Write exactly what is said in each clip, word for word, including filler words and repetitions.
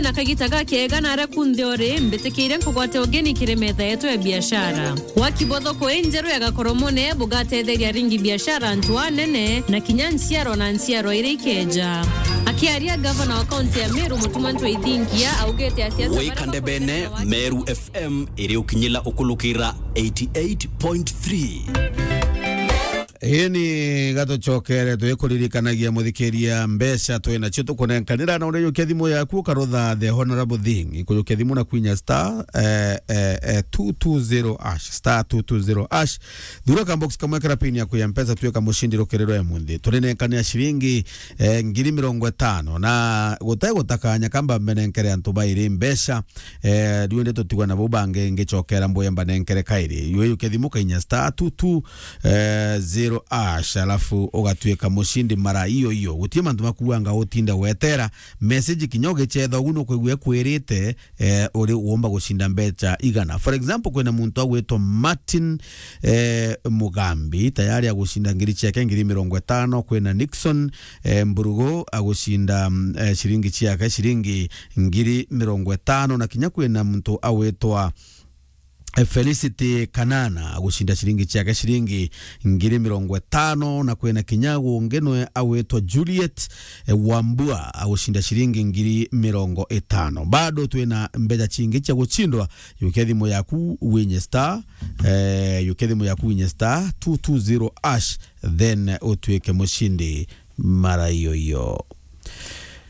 Na kagita gakega na aria kunthe uri, mbitikiire nkugwate ugeni kiri metha yetu ya biashara. Waki bwa thoko injeru ya Gakoromone bugatetheria aringi biashara, antu anene, na kinya nchiarwa na nchiarwa iria ikeja. Akiaria, gavana wa kaunti ya Meru, Mutuma Ntwethingia, augite asiasa baria Wikande bene, bakwenda Meru F M iri ukinyila ukulukira eighty eight point three. Ii ni gatucokere twikuririkanagia, muthikiria, mbeca twinacio tukunenkanira, na urijukia thimu yaku ukarutha the honorable thing. Ikujukia thimu na kwinya star, eh, eh, eh, two two zero hash, star two two zero hash. Thura ka box kamwe kara pin yaku ya Mpesa, tuika mucindi rukiri rwa munthi. Turinenkanira ciringi, eh, ngiri mirongo itano, na gutai gutakanya kamba mbenenkere antu bairi mbeca. Eh, riu ndi tutigwa nabo bangi ngicokera mbuya mbanenkere kairi. Yuyukia thimu kainya star two two zero hash, alafu ugatuika mucindi mara iyo iyo. Gutie mantu makuanga utinde wetera message kinya ugicetha ugu nukwigua kwirite, eh, uri uumba gucinda mbeca igana. For example, kwina muntu agwitwa Martin, eh, Mugambi, tayari agucinda ngiri ciake ngiri mirongo itano. Kwina Nixon, eh, Mburugu agucinda, mm, eh, ciringi ciake ciringi ngiri mirongo itano, na kinya kwina muntu awitwa, eh, Felicity Kanana agucinda ciringi ciake ciringi ngiri mirongo itano, na kwina kinya ungi nwe awitwa Juliet, eh, Wambua agucinda ciringi ngiri mirongo itano. Bado twina mbeca cingi cia gucindwa. Yukia thimu yaku winye star, eh, yukia thimu yaku winye star two two zero hash, then utuike mucindi mara iyo iyo.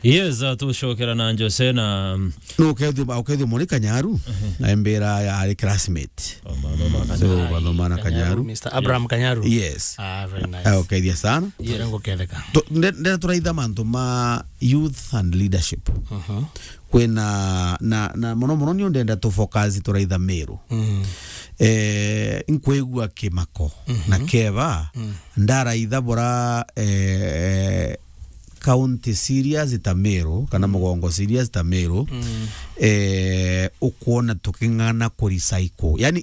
Yes, uh, tucokera na Jose na, mm, no, ukethio, ukethio Moni Kanyaru, na mbira ya ari classmate. Oh, Mama, Mama So, Kanyaru. Mama, Mama Kanyaru. Mister Abraham Kanyaru. Yes. Ah, very nice. Ah, ukethia sana. Yes. Turengo ketheka. Tu-, nde-, nde turaitha mantu ma youth and leadership. Mhm. Kwina, na, na, mono mono nio ndenda tu focus turaitha Meru. Mm. Eh, nkwigua kimako. Mhm. Na keba, mm, ndaraitha bora, eh, county serious ta Meru, kana, mm, mugongo serious ta Meru, mm, eh, ukwona tuking'ana ku recycle. Yani,